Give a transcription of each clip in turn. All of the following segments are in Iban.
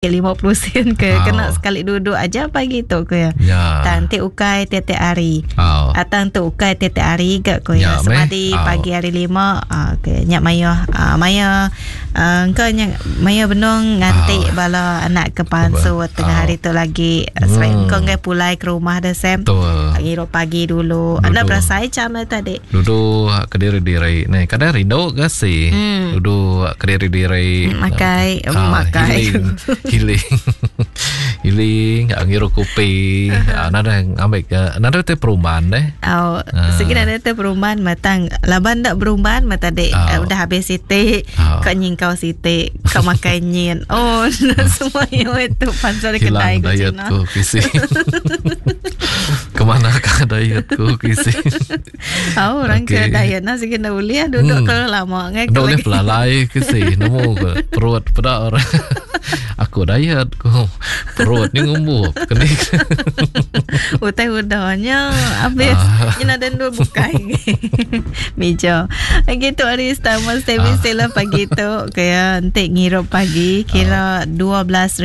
50 sen ke oh. kena sekali duduk aja pagi tu ko ya. Ya. Tang ti ukai tiap-tiap hari. Oh. Atang tu ukai tiap-tiap hari ga ko ya. Ya, Semadi meh. pagi hari lima uh, ke nya mayo uh, maya uh, engka nya maya benung nganti Oh. bala anak ke pansut tengah Oh. hari tu lagi. Hmm. Engka enggai pulai ke rumah dah Sam. Betul. Ngirup pagi dulu. Dulu. Anda berasai jam dah tadi. Duduk kediri-diri ni. Kadang rindu ke si? Hmm. Duduk kediri-diri. Makai, Ah, makai. Healing. Healing. Healing. Ah, ngirup kopi. Ah, nada ambil ke. Nada teh perumahan deh. Oh, Ah. segi nak ada perumahan matang. Laban dak perumahan mata dek Oh. uh, udah habis sitik, Oh. kau nyingkau sitik, kau makan nyin. Oh, semua yang itu pasal kedai Hilang ku diet Cina. ku kisi. Kemanakah dietku kisi? Oh, orang ke Okey. diet nah segi nak boleh duduk kalau lama ngai Dok boleh pelalai kisi. Nemu ke perut pada orang. Aku diet ku. Perut ni ngumbu. Kena. Utai udahnya habis. Ah. Ini ada dua bukai. Meja. Gitu hari Star Service ah. pagi tu kaya entik ngirup pagi kira RM12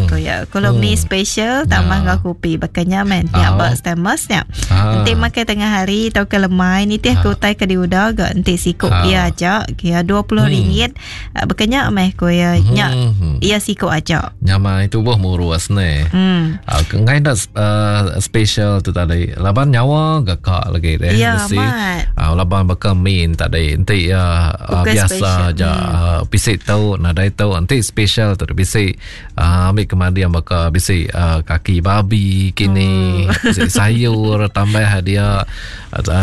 kaya. Kalau mi special tambah Ya. ngau kopi bakanya men tiap Ah. bak Starmus nya. Ah. Entik makan tengah hari atau ke lemai ni tiap ke utai ke diudah ga entik sikuk Ah. ia aja kira RM20 hmm. Bakanya meh kaya nya ia sikuk aja. Nyamai tubuh murus ni. Ngai dah special tu tadi. Laban nyawa gakak lagi deh. Ya, Mesti. amat. Laban bakal min tadi. Nanti ya Bukan biasa special. aja. Bisik tau, nadai tau. Nanti special tu bisik ambil kemandi yang bakal bisik kaki babi kini. Bisik sayur tambah dia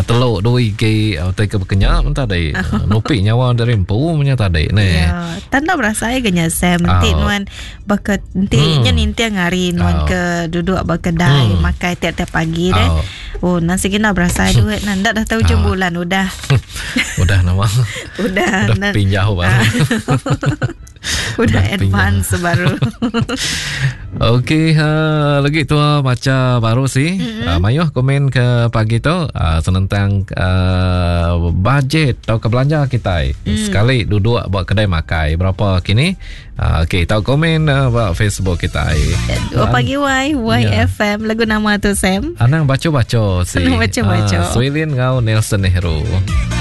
telur dua igi. Tai ke berkenyak pun tadi. Nupik nyawa dari empu punya tadi ni. Ya, tanda berasa ke nya Sam nanti Oh. nuan baka nanti nya ninti ngari nuan Oh. ke duduk berkedai makai tiap-tiap pagi deh. Oh. Oh, nasi kena berasa duit nan dah tahu hujung bulan udah. Udah nama. Udah Udah nan- pinjau baru. Udah Udah advance baru. Okey, lagi tua baca baru sih. Mm-hmm. Mayuh komen ke pagi tu senentang bajet atau ke belanja kita. Sekali duduk buat kedai makai berapa kini? Okey, tahu komen buat Facebook kita. Oh, pagi Y YFM lagu nama tu Sam. Anang baca-baca sih. Anang baca-baca. Swilin ngau Nelson Nehru.